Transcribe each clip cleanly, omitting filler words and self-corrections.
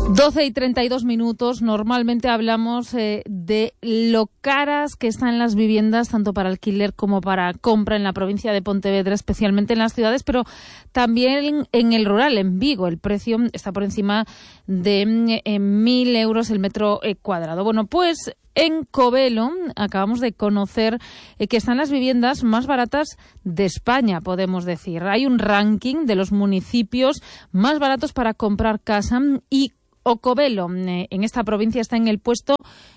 12:32. Normalmente hablamos de lo caras que están las viviendas, tanto para alquiler como para compra en la provincia de Pontevedra, especialmente en las ciudades, pero también en el rural, en Vigo. El precio está por encima de 1.000 euros el metro cuadrado. Bueno, pues en Covelo acabamos de conocer que están las viviendas más baratas de España, podemos decir. Hay un ranking de los municipios más baratos para comprar casa y Covelo en esta provincia está en el puesto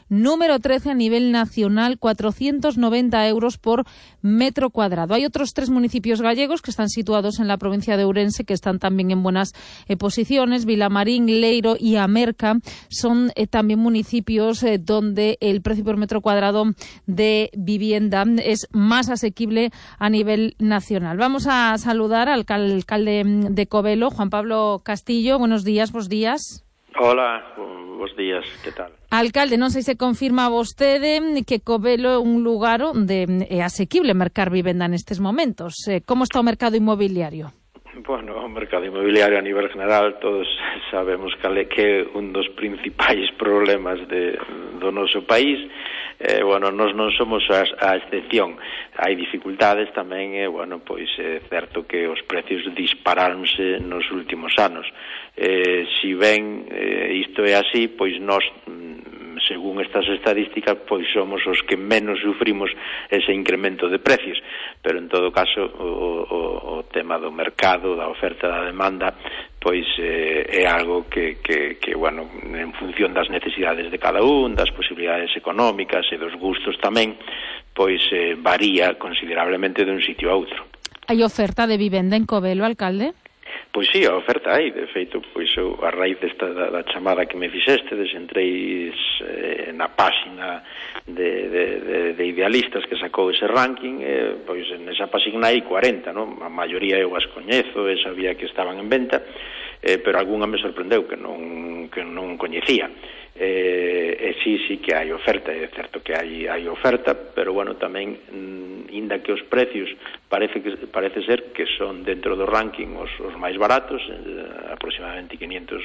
número 13 a nivel nacional, 490 euros por metro cuadrado. Hay otros 3 municipios gallegos que están situados en la provincia de Ourense que están también en buenas posiciones. Vilamarín, Leiro y Amerca son también municipios donde el precio por metro cuadrado de vivienda es más asequible a nivel nacional. Vamos a saludar al alcalde de Covelo, Juan Pablo Castillo. Buenos días, Hola, bons días, que tal? Alcalde, non sei se confirma vostede que Covelo é un lugar onde é asequible mercar vivenda nestes momentos. Como está o mercado inmobiliario? Bueno, o mercado inmobiliario a nivel general todos sabemos que é un dos principais problemas do noso país. Bueno, nós non somos a excepción. Hai dificultades tamén, pois é certo que os precios disparáronse nos últimos anos. Si ben isto é así, pois nós, según estas estadísticas, pois somos os que menos sufrimos ese incremento de precios, pero en todo caso o tema do mercado, da oferta e da demanda, pois é algo que bueno, en función das necesidades de cada un, das posibilidades económicas e dos gustos tamén, pois varía considerablemente de un sitio a outro. Hai oferta de vivenda en Covelo, alcalde? Pois sí, a oferta hai, de feito, pois eu, a raíz desta da chamada que me fixestes, entrei na páxina de idealistas que sacou ese ranking, pois nesa páxina hai 40, non? A maioría eu as coñezo, sabía que estaban en venta, pero algunha me sorprendeu que non coñecía. Sí que hai oferta, é certo que hai oferta, pero bueno, tamén inda que os precios parece ser que son dentro do ranking os máis baratos, aproximadamente 500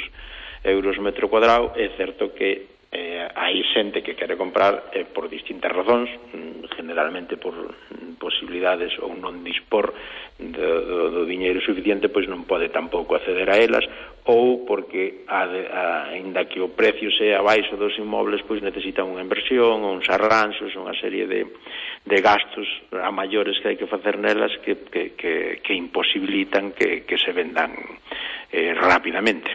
euros metro cuadrado, é certo que hai xente que quere comprar por distintas razóns, generalmente por posibilidades ou non dispor do diñeiro suficiente, pois non pode tampouco acceder a elas, ou porque aínda que o precio sea abaixo dos inmobles, pois necesitan unha inversión, uns arranxos, unha serie de gastos a maiores que hai que facer nelas que imposibilitan que se vendan rapidamente.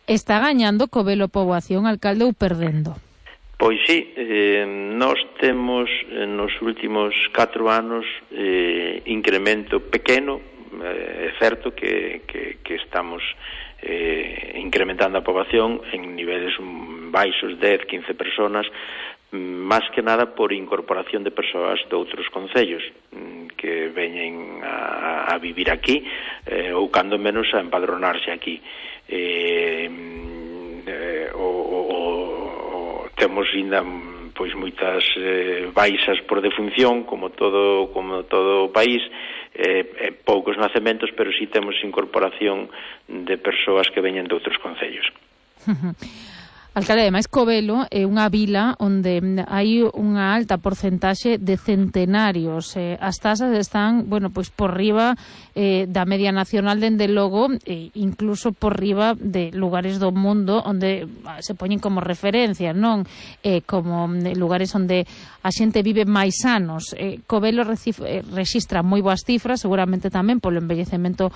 Está gañando Covelo poboación, alcalde, ou perdendo? Pois sí, nós temos nos últimos 4 anos incremento pequeno. É certo que estamos incrementando a poboación en niveles baixos, 10, 15 personas, máis que nada por incorporación de persoas de outros concellos que veñen a vivir aquí, ou cando menos a empadronarse aquí. Temos ainda pois moitas baixas por defunción, como todo o país, poucos nacementos, pero si temos incorporación de persoas que veñen de outros concellos. Alcalde, ademais, Covelo é unha vila onde hai unha alta porcentaxe de centenarios. As tasas están, pois por riba da media nacional, dende logo, incluso por riba de lugares do mundo onde se poñen como referencia, non? Como lugares onde a xente vive máis anos. Covelo rexistra moi boas cifras, seguramente tamén polo envellecemento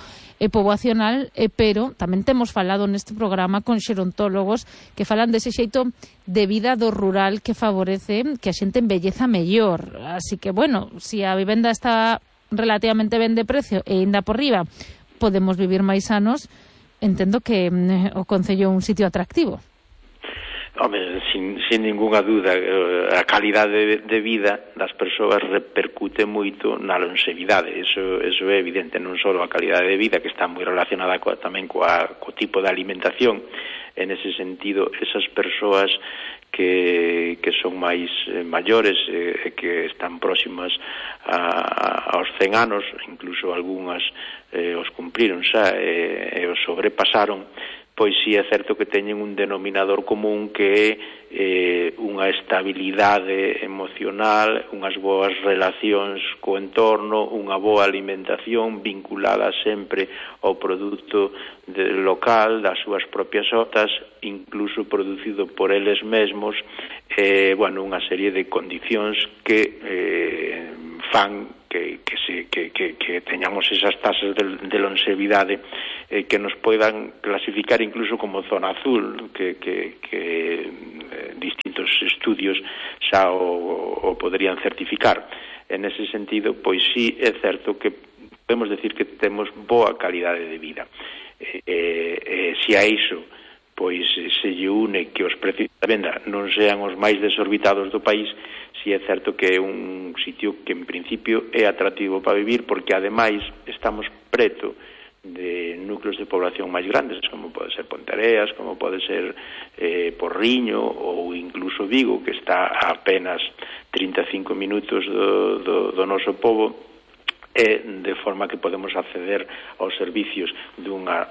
poboacional, pero tamén temos falado neste programa con xerontólogos que falan dese xeito de vida do rural que favorece que a xente embelleza mellor. Así que, si a vivenda está relativamente ben de precio e ainda por riba podemos vivir máis anos, entendo que o concello é un sitio atractivo. Home, sin ninguna duda, a calidade de vida das persoas repercute moito na longevidade. Eso é evidente, non só a calidade de vida, que está moi relacionada tamén co tipo de alimentación. En ese sentido, esas persoas que son máis maiores, que están próximas aos 100 anos, incluso algunhas os cumpriron xa e os sobrepasaron, pois si é certo que teñen un denominador común que é unha estabilidade emocional, unhas boas relacións co entorno, unha boa alimentación vinculada sempre ao produto local das súas propias hortas, incluso producido por eles mesmos, unha serie de condicións que fan que teñamos esas tasas de longevidade que nos poidan clasificar incluso como zona azul, que distintos estudios xa o poderían certificar. En ese sentido, pois sí é certo que podemos decir que temos boa calidade de vida. Se a iso pois se lle une que os precios da venda non sean os máis desorbitados do país, si é certo que é un sitio que en principio é atractivo para vivir, porque ademais estamos preto de núcleos de población máis grandes, como pode ser Ponteareas, como pode ser Porriño ou incluso Vigo, que está a apenas 35 minutos do noso pobo, de forma que podemos acceder aos servicios dunha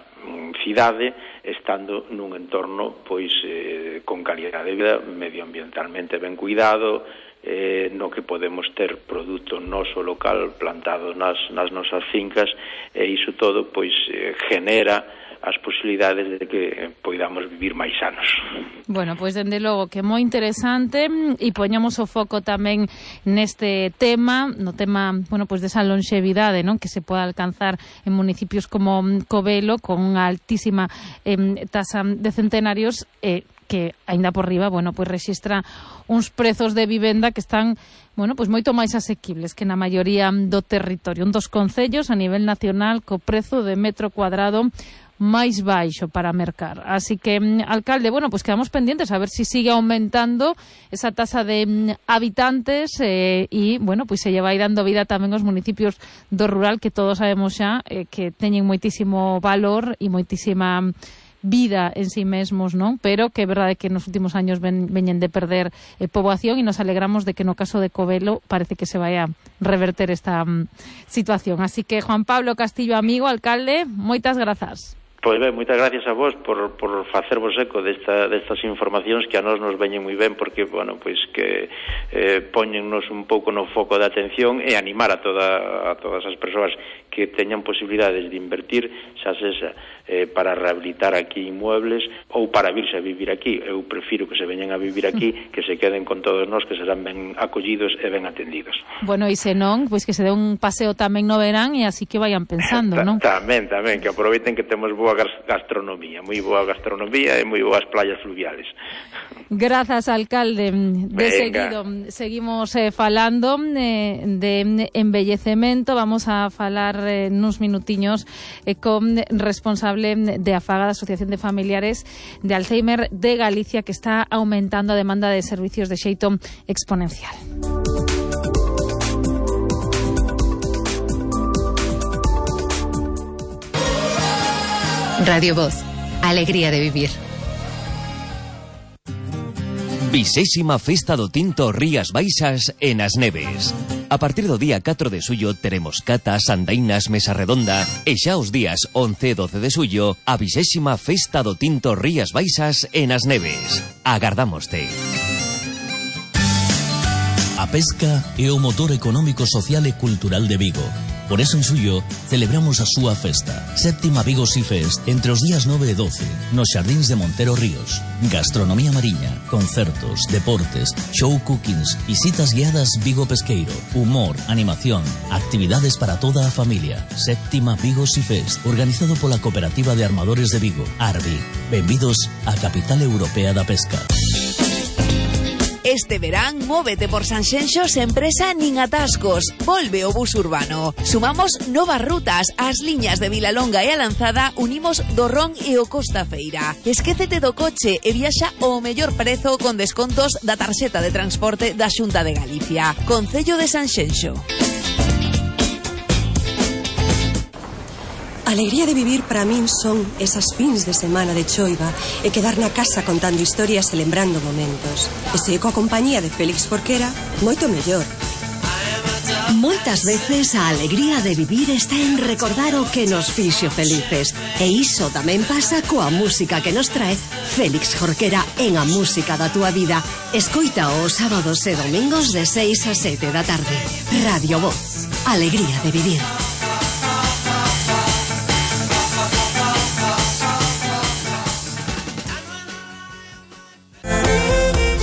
cidade estando nun entorno pois con calidade de vida, medioambientalmente ben cuidado, no que podemos ter produto noso local plantado nas nosas fincas, e iso todo pois genera as posibilidades de que poidamos vivir máis sanos. Bueno, pois dende logo que é moi interesante, e poñamos o foco tamén neste tema, no tema, bueno, pois desa longevidade, non, que se pode alcanzar en municipios como Covelo con unha altísima tasa de centenarios, que aínda por riba, bueno, pois rexistra uns prezos de vivenda que están, bueno, pois moito máis asequibles que na maioría do territorio. Un dos concellos a nivel nacional co prezo de metro cuadrado máis baixo para mercar. Así que, alcalde, bueno, pues quedamos pendientes a ver si sigue aumentando esa tasa de habitantes e, bueno, pues se lle vai dando vida tamén aos municipios do rural, que todos sabemos xa que teñen moitísimo valor e moitísima vida en sí mesmos, non? Pero que é verdade que nos últimos años veñen de perder poboación, e nos alegramos de que no caso de Covelo parece que se vai a reverter esta situación. Así que, Juan Pablo Castillo, amigo, alcalde, moitas grazas. Pois ben, moitas gracias a vos por facervos eco destas informacións que a nós nos veñen moi ben, porque, bueno, pois que poñennos un pouco no foco de atención e animar a todas as persoas que teñan posibilidades de invertir, xa sexa para rehabilitar aquí inmuebles ou para virse a vivir aquí. Eu prefiro que se veñan a vivir aquí, que se queden con todos nós, que serán ben acollidos e ben atendidos. Bueno, e se non, pois que se dé un paseo tamén no verán, e así que vayan pensando, non? Tamén, que aproveiten que temos boa gastronomía, moi boa gastronomía e moi boas playas fluviales. Grazas, alcalde. De seguido seguimos falando de embellecemento. Vamos a falar nuns minutiños con responsable de AFAGA, da Asociación de Familiares de Alzheimer de Galicia, que está aumentando a demanda de servicios de xeito exponencial. Radio Voz, alegría de vivir. 20ª Festa do Tinto Rías Baixas en As Neves. A partir do día 4 de xullo teremos catas, andainas, mesa redonda, e xa os días 11 e 12 de xullo a 20ª Festa do Tinto Rías Baixas en As Neves. Agardámoste. A pesca é o motor económico, social e cultural de Vigo. Por eso en xullo celebramos a súa festa, 7ª Vigo Sea Fest, entre os días 9 e 12, nos xardíns de Montero Ríos. Gastronomía mariña, concertos, deportes, show cookings, visitas guiadas Vigo Pesqueiro, humor, animación, actividades para toda a familia. 7ª Vigo Sea Fest, organizado pola Cooperativa de Armadores de Vigo, ARBI. Benvidos á capital europea da pesca. Este verán, móvete por Sanxenxo sen presa nin atascos. Volve o bus urbano. Sumamos novas rutas. As liñas de Vilalonga e a Lanzada unimos do Ron e o Costa Feira. Esquécete do coche e viaxa ao mellor prezo con descontos da tarxeta de transporte da Xunta de Galicia. Concello de Sanxenxo. A alegría de vivir para min son esas fins de semana de choiva e quedar na casa contando historias e lembrando momentos. E se coa compañía de Félix Forquera, moito mellor. Moitas veces a alegría de vivir está en recordar o que nos fixo felices. E iso tamén pasa coa música que nos trae Félix Jorquera en A Música da Túa Vida. Escoita os sábados e domingos de 6 a 7 da tarde. Radio Voz. Alegría de vivir.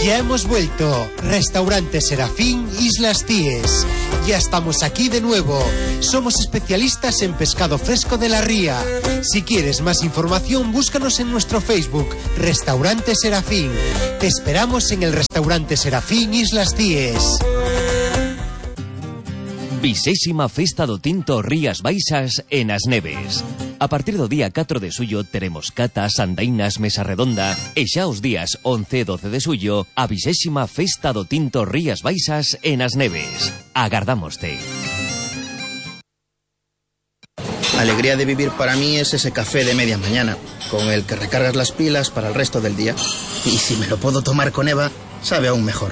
Ya hemos vuelto. Restaurante Serafín, Islas Cíes. Ya estamos aquí de nuevo. Somos especialistas en pescado fresco de la ría. Si quieres más información, búscanos en nuestro Facebook, Restaurante Serafín. Te esperamos en el Restaurante Serafín, Islas Cíes. 20ª Festa do Tinto Rías Baixas en As Neves. A partir do día 4 de suyo teremos catas, andainas, mesa redonda e xa os días 11 e 12 de suyo a 20ª Festa do Tinto Rías Baixas en As Neves. Agardámoste. Alegría de vivir para mí es ese café de media mañana, con el que recargas las pilas para el resto del día. Y si me lo puedo tomar con Eva, sabe aún mejor.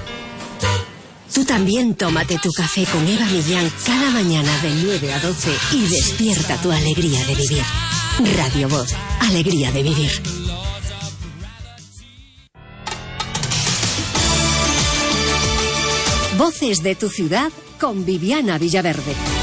Tú también tómate tu café con Eva Millán cada mañana de 9 a 12 y despierta tu alegría de vivir. Radio Voz, alegría de vivir. Voces de tu ciudad con Viviana Villaverde.